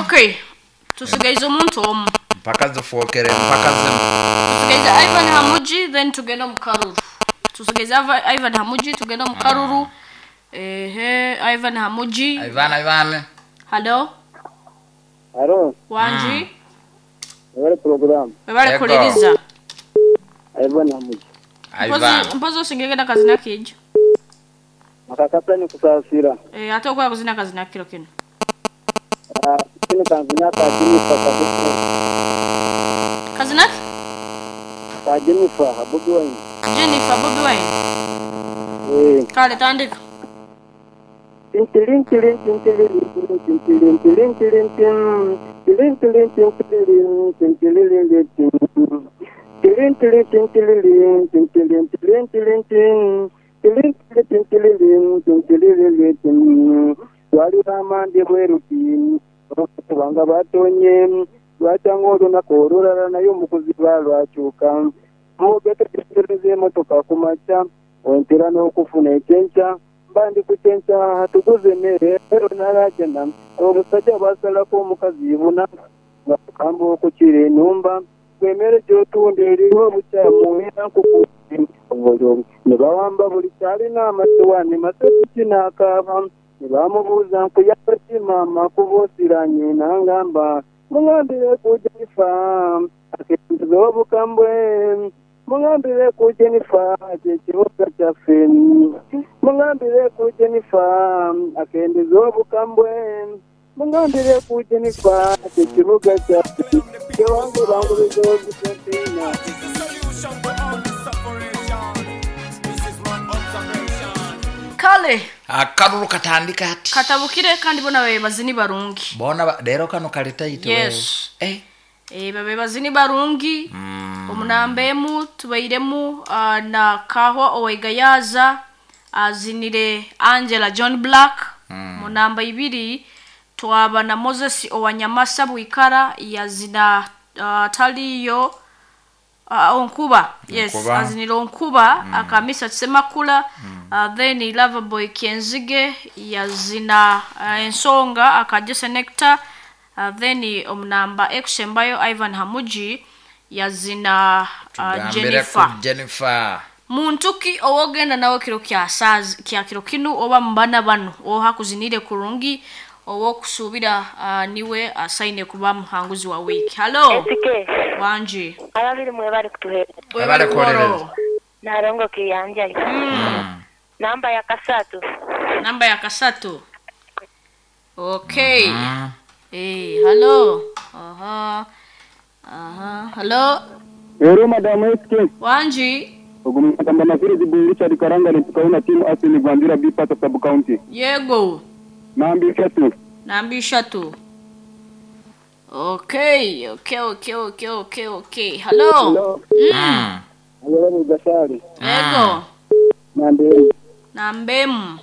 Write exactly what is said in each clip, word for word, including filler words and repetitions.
Okay, tusigaize omuntu omu. Mpaka zifookere mpaka zino. Tusigaize Ivan Hamuji, then tugende omu karuru. Tusigaize Ava- Ivan Hamuji, tugende omu karuru. Ehe, Ivan Hamuji. Ivan, Ivan. Hello. Alo, Wanji. webale program. Webale Ego. kuliriza. Ivan Hamuji. Ivan. Mpozi osingegenda kazina kijo. Makakasa ni kusasira. Eh, ate okola kuzina kazina kiro kino. Ah, kino kanzina ka Jennifer ka Kazina ki? ka Jennifer Bobi Wine. Jennifer Bobi Wine. Eh, Kale tandika. tintilin tilin tintilin tintilin tilin tilin tin tilin tilin tintilin tintilin tin tilin tilin tintilin tintilin tilin tilin tin tilin tilin tintilin tintilin tin wali bamande bweruti kubanga batonye lwatanga olunaku olulala naye omukuziba lwakyuka mugetegereza emotoka ku makya ontera n'okufuna ekyenkya mba ndi ku kyenkya tuguze emmere ero nalajana obusajja bwasalako omukazi buna nga kukamba okukira enumba gwemmere gy'otunda eriwo obukyamu era nkuku ne bawamba buli kyalina amasowaani masoti n'akaaba ne bamubuuza nkuyamba ki maama kuba osiranye nangamba muŋambire ku Jennifer akendeza obukambwe muŋambire ku Jennifer kyekibuga kyaffe muŋambire ku Jennifer akendeza obukambwe muŋambire ku Jennifer kyekibuga kyaffe kyewange bangubiza obutempiina. Kale Akaruru katandika ati. katabukire kandi bona babe bazini barungi. Bona ba- leero kano kali tight. Yes. wewe. Eh. Eh, babe bazini barungi. Omunamba emu tubairemu uh, na Kahwa Owegayaza azinire Angela John Black. Mm. Munamba ibiri twaba na Moses Owanyamasa Bwikara yazina uh, Taliyo uh, Onkuba. Yes, Onkuba. azinire Onkuba mm. Akamisa Semakula mm. uh, then Loverboy Kenzige yazina uh, Ensonga akajese Nectar uh, then omunamba ekusembayo Ivan Hamuji yazina uh, Tugambire Jennifer. ku Jennifer. Muntu ki owogenda nawe kiro kya sazi kya kiro kinu oba mubana bano oha kuzinire kurungi owokusuubira uh, niwe asaine kuba muhanguzi wa wiki. Hello. Esike, Wanji. ababiri mwebale kutuheereza. Webale kuwolereza. Nalongo kiyanjayo. Mm. Namba ya kasatu. Namba ya kasatu. Okay. Mm. Eh, hello. Aha. Aha. Hello. Ero madamu S K. Wanji. Ogumagamba maziri zibu Richard Karanga ni tukaona timu Asini Gwandira B Pata sub county. Yego. Nambi ishatu. Namba ishatu. Okay, okay, okay, okay, okay, okay. Hello. Hello. Mm. Hello Gashari. Yego. Nambi. Namba emu.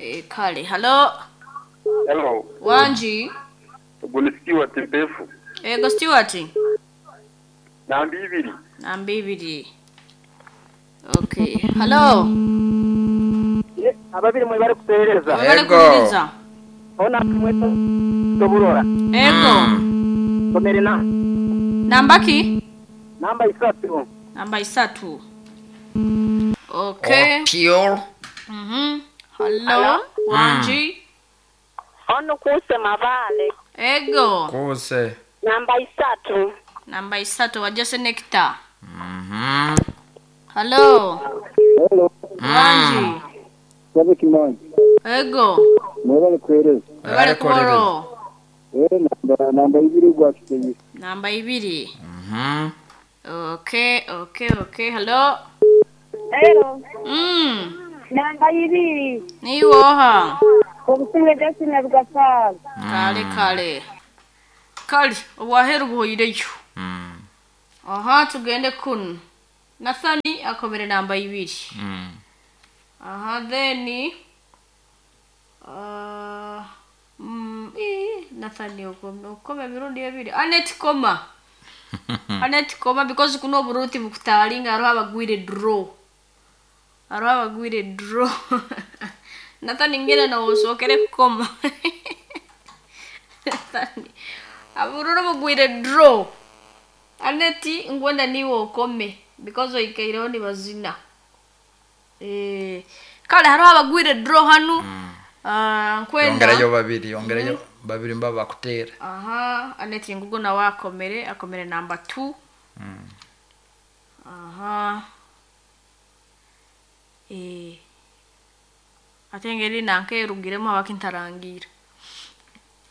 Eh, kale. Hello. Hello, Wanji. ubwo ni Stewart Mpefu. Ego Stewart. Namba ibiri. Namba ibiri. Okay. Hello. Ababiri mwebale kutuheereza. Webale Ego. kuliriza. Ona mweta toburora. Ego. Somere na Namba ki? namba isatu. Namba isatu. Okay. Opio. Mhm. Hello. Wanji. Ono kuse mabale. Ego. Kuse. Namba isatu. Namba isatu wajose Nectar. Mhm. Hello. Hello. Wanji. Sabe kimani. Ego. Mwebale kutuheereza. Webale kuboro. Eh, namba namba ibiri gwa kiteyi. Namba ibiri. Mhm. Okay, okay, okay. Hello. Hello. Mm. Namba ibiri. Niwoha. Obusinge Justin Rwasaga. Kale kale. Kale obwaheru buhoireyo. Mm. Aha tugende kuno. Nathani akomere namba ibiri. Mm. Aha then uh, mm, ii, Nathani okome okome emirundi ebiri. Anet koma. Anet koma because kuno oburuti bukutalinga hariho abagwire draw. Hariho abagwire draw. Nathani ngene nawe osookere kukoma. Stanley abururu bugwire draw aneti ngwenda niwe okome because oikeireho nibazina. Eh, kale hariho abagwire draw hanu. Ah, nkwenda yongerayo babiri, yongerayo babiri mba bakutera. Aha, aneti ngugo nawe akomere akomere namba two. Aha, eh, ate engeri nanka erugiremu abakintarangira.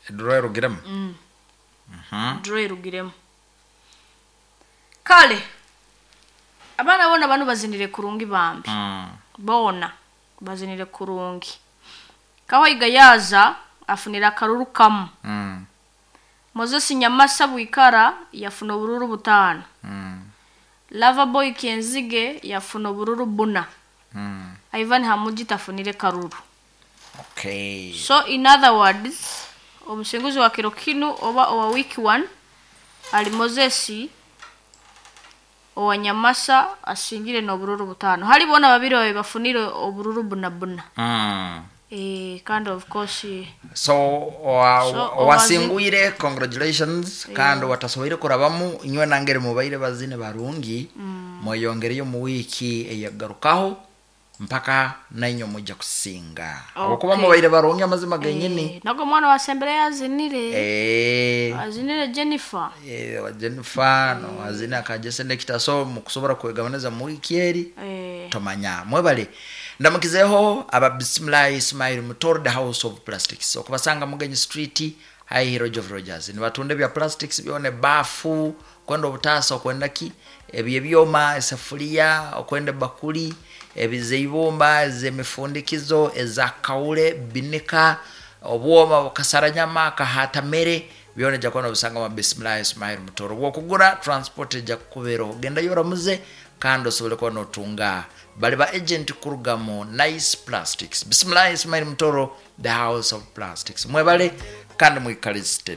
Eduro erugiremu. Mm. Mhm. Draw erugiremu. Kale abaana bona bano bazinire kurungi bambi. Mm. Bona bazinire kurungi. Kawayiga yaza afunira akaruru kamu. Mm. Moses Nyamasa Bwikara yafuna obururu butaano. Mm. Lava Boy Kenzige yafuna obururu buna. Mm. Ivan Hamuji tafunire karuru. Okay. So in other words, omusinguzi wa kiro kinu oba owa week one ali Moses owa Nyamasa asingire n'obururu butaano. Hali bona babiri babe bafunire obururu buna buna. Mm. Eh, kandi of course So owa- So, owasingwire, congratulations, kandi watasoboire kurabamu inywe nangeri mubaire bazine barungi, mweyongereyo mu wiiki eyagarukaho mpaka nainywe mujja kusinga okuba Okay. mubaire barungi amazima genyini. eh, nago omwana wasembere yazinire. Eh, Azinire Jennifer. eh, wa Jennifer no azine akajese nekita, so mukusobora kwegabaneza mu wiiki eri. Eh, Tomanya mwebale ndamukizeho aba Bismillah Ismail Mutoro, the House of Plastics, okubasanga Mugenyi Street high Roger of Rogers. Nibatunda bya plastics byone, bafu, kwenda obutasa, okwenda ki ebyo ebyoma, esefuria, okwenda bakuli ebizeibumba, ezemifundikizo eza kawule, binika, obwoma bukasaranyama kahatamere, byona ejja kuba nobisanga mu Bismillah Ismail Mutoro. Bwokugura transport ejja kukubeeraho, gendayo oramuze kandi osobole kuba notunga bali ba agent kuruga mu Nice Plastics. Bismillah Ismail Mutoro, the House of Plastics, mwebale kandi mwikalizite.